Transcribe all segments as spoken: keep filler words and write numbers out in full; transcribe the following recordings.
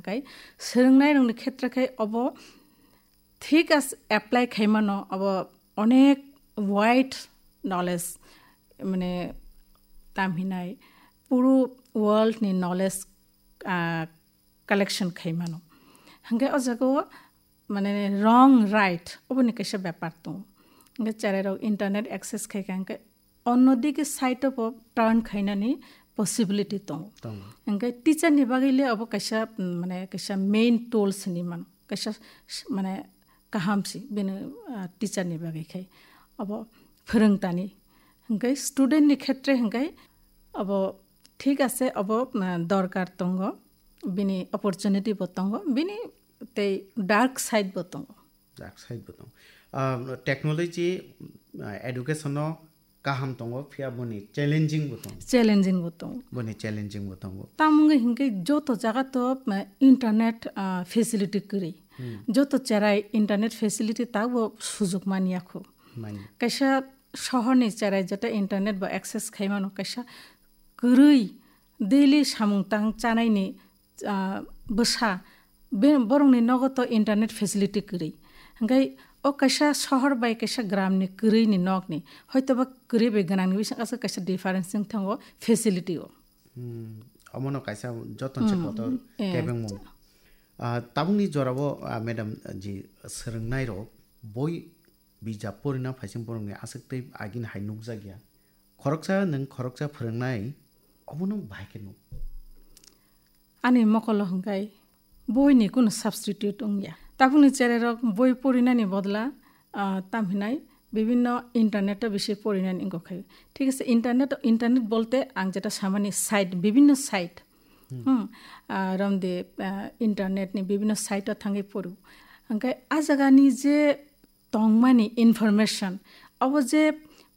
Tei swrwngnairokni khetre khe obo thik as apply khaimano, obo onek wide knowledge, mane, tam hinai puro world ni knowledge, ah, collection khaimano. Hingke o jaga o, mane, wrong right oboni kaisa bepar tongo. Hingke cherai rok internet access khai kha hingke onno digi side o bo turn khainani possibility tongo. Tongo. Hingke teacher ni bagwi le obo kaisa, mm, mane, kaisa main tools hinwi mano. Kaisa s-, mane, kaham si bini, ah, teacher ni bagwi khai. Obo phwrwngtani. Hingke student ni khetre hingke obo thik ase, obo, ah, dorkar tongo. Bini opportunity bo tongo. Bini tei dark side bo tongo. Dark side bo tongo. Ah, technology, ah, education no kaham tongo, phiya boni challenging bo tongo. Challenging bo tongo. Boni challenging bo tongo. Tamo wngwi hinkhe joto jaga to, ah, internet, ah, facility kwrwi. Hmm. Joto cherai internet facility tabo sujuk manya kho. Manya. Kaisa sohorni cherai jeta internet bo access khai mano, kaisa kwrwi daily samung tang chanaini, ah, bwsa, be-, borokni nogo to internet facility kwrwi. Hingkhai o kaisa sohor bai kaisa gramni kwrwini nokni, hoitoba kwrwi bai gwnangni bising aswk kaisa difference wng thango facility o. Hmm, omono kaisa joton se Hmm, kotor eh. Tebengmung. Ah, tabukni jorao, ah, madam ji swrwngnai rok boi bijap porina phaising borokni aswk tei agini hai nukjakya. Khoroksa nwng khoroksa phwrwngnai, obono bahai khe nuk. Ani mokolo hwnkhe boini kunu substitute wngya. Tabukni cherai rok boi porinani bodla, ah, tam hinai bibinno internet o bisi porinani wngkha khe. Thik ase, internet, internet bolte ang jeta samani site, bibinno site. Hmm. Hmm. Ah, romde, ah, internet ni bibinno site o thangwi poru. Hwnkhe a jagani je tongmani information, abo je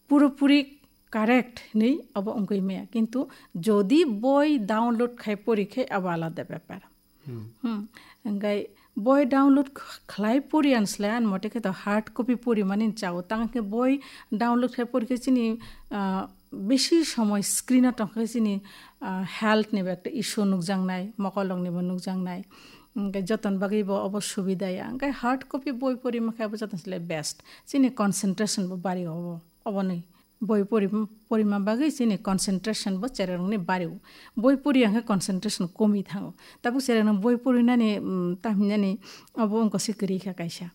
puropuri correct hinwi abo wngwi maya. Kintu jodi boi download khai pori khe abo alada bepar. Hmm. Hmm. Hingkhai boi download kh-, khlai pori ani slai ani mote khe to hard copy pori mani chao. Tang khe boi download khai pori khe chini, ah, bisi somoi screen o tong khe chini, ah, health ni bo ekta issue nukjaknai, mokolrok ni bo nukjaknai. Hingkhai joton bagwi bo obo subida ya. Hingkhai hard copy boi pori ma khe abo joton slai best. Chini concentration bo bari obo, oboni. Boi pori-, porima bagwi chini concentration bo cherai rokni bari o. Boi pori ya hwnkhe concentration komi thango. Tabuk cherai rok boi porinani, mm, tamhinani obo wngkha se kwrwi kha kaisa.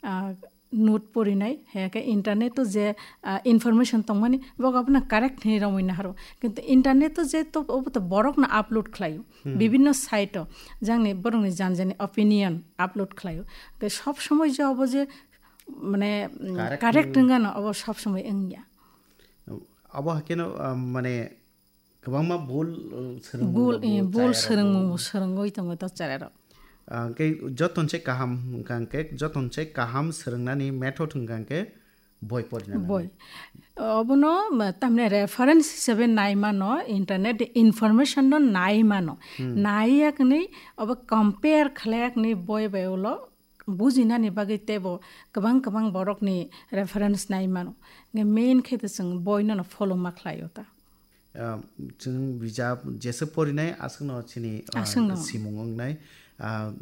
Ah, note porinai, hai khe internet o je, ah, information tongmani, bo abono correct hinwi romwi naharo. Kintu internet o je to, obo to borokno upload khlaio. Hmm. Bibinno site o, jangni borokni jan jani opinion upload khlaio. Tei sob somoi je obo je, mane, mm, correct correct wng- wngano, obo sob somoi wngya. Obo hakeno, ah, mane, kwbangma bul, uh, swrwngmung Bul, rok eh, bo bul chaya rok swrwngmung bo. Bo swrwngwi tongo to cherai rok. Ah, hwnkhe joton se kaham hwnkha hwnkhe, joton se kaham swrwngnani method hwnkha hwnkhe boi porina nangnai. Boi. Obono, ma, tamni reference hisabe nai mano, internet information no nai mano. Hmm. Nai yakni obo compare khlai yakni boi bai ulo bujinani bagwi teibo kwbang kwbang borokni reference nai mano. Hwnkhe main khe to chwng boinono follow ma khlaio ta. Ah, chwng bijap jesa porinai aswkno chini, ah, Aswkno. Simung wngnai. Ah,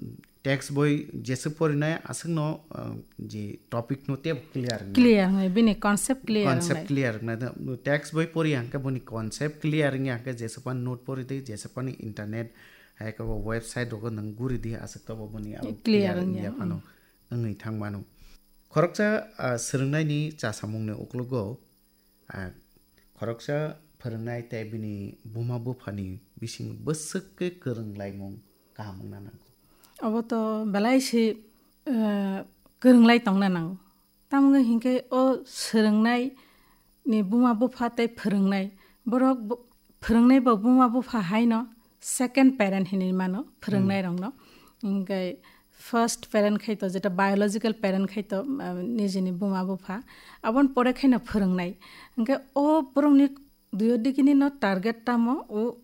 text boi jesa porinai aswkno, ah, je topic no teibo clear wngnai. Clear wngnai, bini concept clear Concept wngnai. Clear wngnai. Text boi pori hwnkhe boni concept clear wngya hwnkhe jesa pan note pori di, jesa pan internet hai khe bo website rogo nwng guri di, aswk to bo boni abo Clear clear wngya, wngya phano hmm. Wngwi thang mano. Khoroksa, ah, swrwngnaini chasamungni uklogo, ah, khoroksa phwrwngnai tei bini buma buphani bising bwswk khe kwrwng laimung kaham wngna nango. Obo to belai se, ah, kwrwng lai tongna nango. Tamo wngkha hinkhe o swrwngnai ni buma bupha tei phwrwngnai. Borok bo-, phwrwngnai bo buma bupha haino second parent hinwi mano, phwrwngnai Hmm. rokno. Hinkhe first parent khai to, jeta biological parent khai to, ah, nijini buma bupha. Aboni pore khaino phwrwngnai. Hinkhe o borokni duyo digini no target tamo o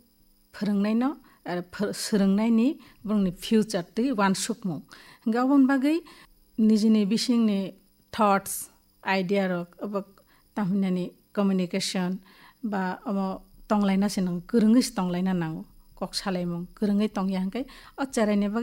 phwrwngnaino, ah, phwr-, swrwngnaini borokni future twi uansukmung. Hinkhe aboni bagwi nijini bisingni thoughts, idea rok, obo tamhinani communication ba omo tonglaina se nang, kwrwngwi se tonglaina nango. Kok salaimung, kwrwngwi tongya hinkhe o cheraini bagwi